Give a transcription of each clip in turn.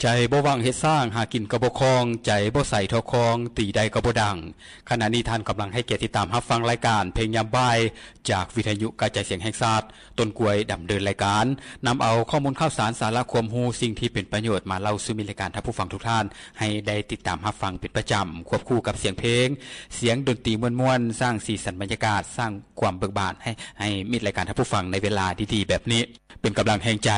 ໃຈບໍ່ຫວັງເຮັດສ້າງ ຫາກິນກໍບໍ່ຄ່ອງ ໃຈບໍ່ໃສທໍ່ຄອງ ຕີໄດ້ກໍບໍ່ດັງ. ຂະນະນີ້ທ່ານກຳລັງໃຫ້ກຽດຕິດຕາມຮັບຟັງລາຍການເພງຍາມບ່າຍ ຈາກວິທະຍຸກະຈາຍສຽງແຫ່ງຊາດ. ຕົ້ນກ້ວຍດຳເນີນລາຍການ ນຳເອົາຂໍ້ມູນຂ່າວສານ ສາລະຄວາມຮູ້ ສິ່ງທີ່ເປັນປະໂຫຍດ ມາເລົ່າສູ່ມິດລາຍການທ່ານຜູ້ຟັງທຸກທ່ານ ໃຫ້ໄດ້ຕິດຕາມຮັບຟັງເປັນປະຈຳ ຄວບຄູ່ກັບສຽງເພງ, ສຽງດົນຕີມ່ວນໆ ສ້າງສີສັນບັນຍາກາດ, ສ້າງຄວາມເບີກບານໃຫ້, ໃຫ້ມິດລາຍການທ່ານຜູ້ຟັງໃນເວລາດີໆແບບນີ້. ເປັນກຳລັງແຮງໃຈ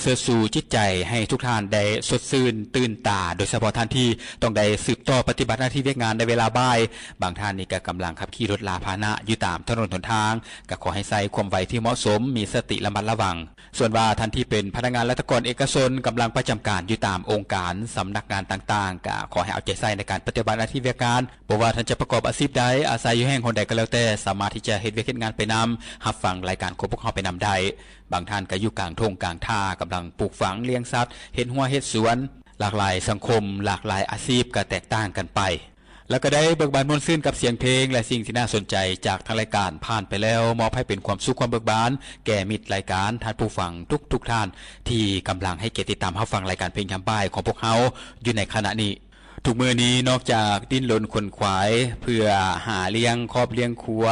ເຊີດຊູຈິດໃຈໃຫ້ທຸກທ່ານໄດ້ສົດຊື່ນຕື່ນຕາ, ໂດຍສະເພາະທ່ານທີ່ຕ້ອງໄດ້ສືບຕໍ່ປະຕິບັດໜ້າທີ່ວຽກງານໃນເວລາບ່າຍ. ບາງທ່ານນີ້ກໍກຳລັງຂັບຂີ່ລົດລາພາຫະນະຢູ່ຕາມຖະໜົນຫົນທາງ, ກໍຂໍໃຫ້ໃຊ້ຄວາມໄວທີ່ເໝາະສົມ, ມີສະຕິລະມັດລະວັງ. ສ່ວນວ່າທ່ານທີ່ເປັນພະນັກງານລັດຖະກອນເອກະຊົນ ກຳລັງປະຈຳການຢູ່ຕາມອົງການ, ສຳນັກງານຕ່າງໆ, ກໍຂໍໃຫ້ເອົາໃຈໃສ່ໃນການປະຕິບັດໜ້າທີ່ວຽກງານ. ບໍ່ວ່າທ່ານຈະປະກອບອາຊີບໃດ, ອາໄສຢູ່ແຫ່ງຫົນໃດກໍແລ້ວແຕ່, ສາມາດທີ່ຈະເຮັດວຽກເຮັດງານໄປນຳ, ຮັບຟັງລາຍການຂອງພວກເຮົາໄປນຳໄດ້. ບາງທ່ານກໍຢູ່ກາງທົ່ງກາງທ່າ, ກຳລັງປູກຝັງ, ລ້ຽງສັດ, ເຮັດຮົ້ວເຮັດສວນ. ຫຼາກຫຼາຍສັງຄົມ, ຫຼາກຫຼາຍອາຊີບກໍແຕກຕ່າງກັນໄປ. ແລ້ວກໍໄດ້ເບີກບານມ່ວນຊື່ນກັບສຽງເພງ ແລະ ສິ່ງທີ່ໜ້າສົນໃຈຈາກທາງລາຍການຜ່ານໄປແລ້ວ, ມອບໃຫ້ເປັນຄວາມສຸກຄວາມເບີກບານແກ່ມິດລາຍການ, ທ່ານຜູ້ຟັງທຸກໆທ່ານ ທີ່ກຳລັງໃຫ້ກຽດຕິດຕາມຮັບຟັງລາຍການເພງຍາມບ່າຍຂອງພວກເຮົາຢູ່ໃນຂະນະນີ້. ທຸກມື້ນີ້ນອກຈາກດີ້ນລົນຂົນຂວາຍເພື່ອຫາລ້ຽງຄອບລ້ຽງຄົວ,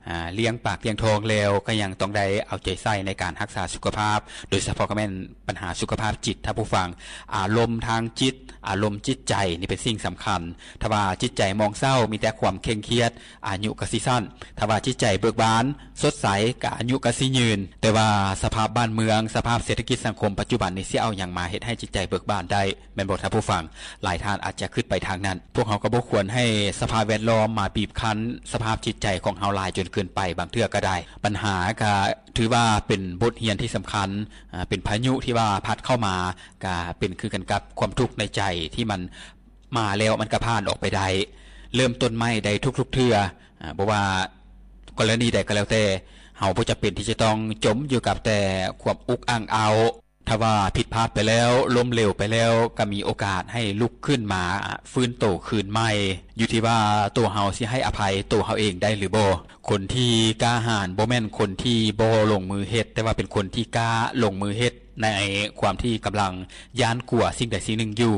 ອາ, ລ້ຽງປາກລ້ຽງທ້ອງແລ້ວ, ກໍຍັງຕ້ອງໄດ້ເອົາໃຈໃສ່ໃນການຮັກສາສຸຂະພາບ, ໂດຍສະເພາະກໍແມ່ນບັນຫາສຸຂະພາບຈິດ, ທ່ານຜູ້ຟັງ, ອາລົມທາງຈິດ, ອາລົມຈິດໃຈນີ້ເປັນສິ່ງສຳຄັນ. ຖ້າວ່າຈິດໃຈໝອງເສົ້າ, ມີແຕ່ຄວາມເຄັ່ງຄຽດ, ອາຍຸກໍຊິສັ້ນ. ຖ້າວ່າຈິດໃຈເບີກບານ, ສົດໃສ, ກໍອາຍຸກໍຊິຍືນ. ແຕ່ວ່າສະພາບບ້ານເມືອງ, ສະພາບເສດຖະກິດສັງຄົມປັດຈຸບັນນີ້ ຊິເອົາຫຍັງມາເຮັດໃຫ້ຈິດໃຈເບີກບານໄດ້? ແມ່ນບໍ່ທ່ານຜູ້ຟັງ? ຫຼາຍທ່ານອາດຈະຄິດໄປທາງນັ້ນ. ພວກເຮົາກໍບໍ່ຄວນໃຫ້ສະພາບແວດລ້ອມມາບີບຄັ້ນສະພາບຈິດໃຈຂອງເຮົາຫຼາຍຈົນເກີນໄປ, ບາງເທື່ອກໍໄດ້. ບັນຫາກໍຖືວ່າເປັນບົດຮຽນທີ່ສຳຄັນ, ອາ, ເປັນພາຍຸທີ່ວ່າພັດເຂົ້າມາ, ກໍເປັນຄືກັນກັບຄວາມທຸກໃນໃຈທີ່ມັນມາແລ້ວມັນກໍຜ່ານອອກໄປໄດ້. ເລີ່ມຕົ້ນໃໝ່ໄດ້ທຸກໆເທື່ອ, ອາ, ບໍ່ວ່າກໍລະນີໃດກໍແລ້ວແຕ່, ເຮົາບໍ່ຈຳເປັນທີ່ຈະຕ້ອງຈົມຢູ່ກັບແຕ່ຄວາມອຸກອັ່ງອ້າວ. ຖ້າວ່າຜິດພາດໄປແລ້ວ, ລົ້ມເຫຼວໄປແລ້ວ, ກໍມີໂອກາດໃຫ້ລຸກຂຶ້ນມາຟື້ນໂຕຄືນໃໝ່, ຢູ່ທີ່ວ່າໂຕເຮົາຊິໃຫ້ອະໄພໂຕເຮົາເອງໄດ້ຫຼືບໍ່. ຄົນທີ່ກ້າຫານບໍ່ແມ່ນຄົນທີ່ບໍ່ລົງມືເຮັດ, ແຕ່ວ່າເປັນຄົນທີ່ກ້າລົງມືເຮັດໃນຄວາມທີ່ກຳລັງຢ້ານກົວສິ່ງໃດສິ່ງໜຶ່ງຢູ່.